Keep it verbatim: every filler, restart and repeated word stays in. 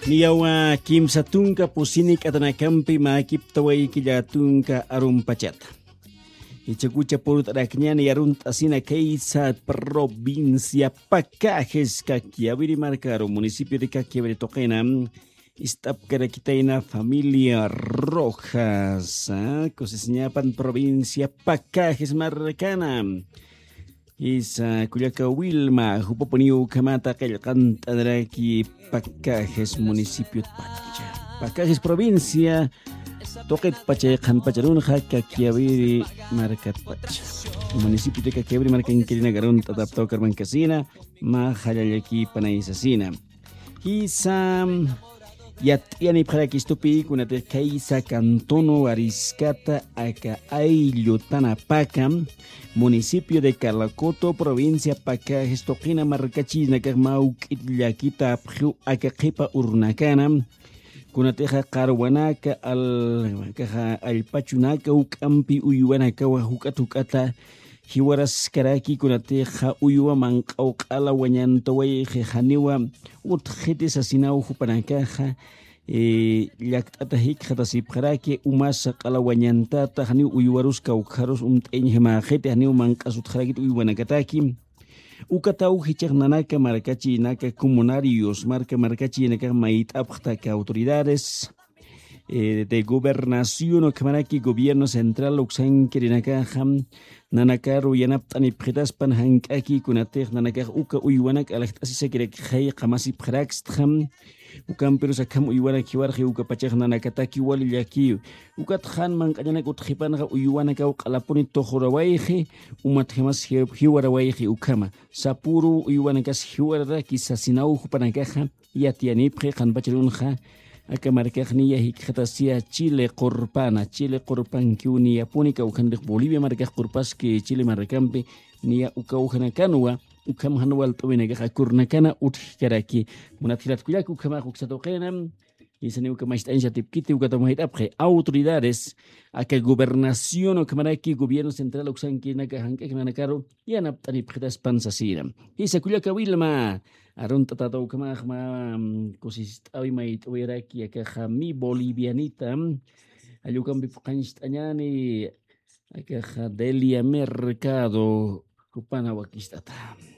Niyawa kimsa tunka pusini k'atanakampi mäkiptawayki llatunka arumpachata. Ichakucha purut'arakñani arunt'asina kaysa provincia Pacajes, Caquiaviri markaru, municipio de Caquiaviri tuqina. Ist'apkarakitayna familia Rojas, ah, kusisiñapan provincia Pacajes markana. Isa kullaka Wilma, jupapuniw ukhamata qillqant'anaraki Pacajes municipio pacha. Pacajes provincia, tuqit pachay qhanpacharunxa Caquiaviri markat pacha. Municipio de Caquiaviri markankirinaka arunt'ataptaw karmankasina, mä jallallaki panaysasina. Jisa yat'iyanipxarakistupi kunatix kaysa cantón Wariscata aka ayllu Tanapaka, municipio de Calacoto, provincia Pacajes tuqina markachinakax mawk'it llakita apxiw aka qhipa urnakana, kunatixa qarwanaka, al-, kaxa allpachunaka juk'ampi uywanakawa juk'at juk'ata jiwaraskaraki, kunatixa uywa manq'aw q'ala wañantawayxi janiwa utjxiti sasinaw jupanakaxa, eh, llakt'ata jikxatasipxaraki, umasa q'ala wañantata, janiw uywarus kawkharus umt'ayañjamäxiti, janiw manq'as utjarakit uywanakataki. Ukataw jichhax nanaka markachinaka comunarios, marka markachinakax mayt'apxta aka autoridades, eh, de gobernación ukhamaraki gobierno central uksankirinakaxa nanakaru yanapt'anipxitaspan jank'aki, kunatix nanakax uka uywanak alaxt'asisakirakxay qamasipxarakstxa. Ukampirus akham uywanak jiwarxi, uka pachax nanakataki wali llaki. Ukat jan manq'añanak utjxipanxa uywanakaw q'alapuni tuxurawayxi, umatjamas jiw-, jiwarawayxi ukhama. Sapüru uywanakas jiwararaki sasinaw jupanakaxa yatiyanipxi qhanpacharunxa. Aka markax niya jikxatasiya Chile qurpana, Chile qurpankiw niyapuni, kawkhanpix Bolivia markax qurpaski Chile markampi, niya uka ujanakanwa, ukham jan walt'awinakax akurnakana utjkaraki. Munat jilat kullaka, ukhamax uksa tuqina. Isani uka macht'añsa tipkiti, ukata mayt'apxi autoridades, aka gobernación ukhamaraki gobierno central uksankirinaka jank'ak nanakaru yanapt'anipxitaspan sasina. Jisa kullaka Wilma, arunt'atata ukhamax mä, mm, kusist'awi mayt'awiraki, akaxa mi bolivianita, mm, allukampi phuqhañcht'añani, akaxa Delia Mercado, jupana wakist'ata.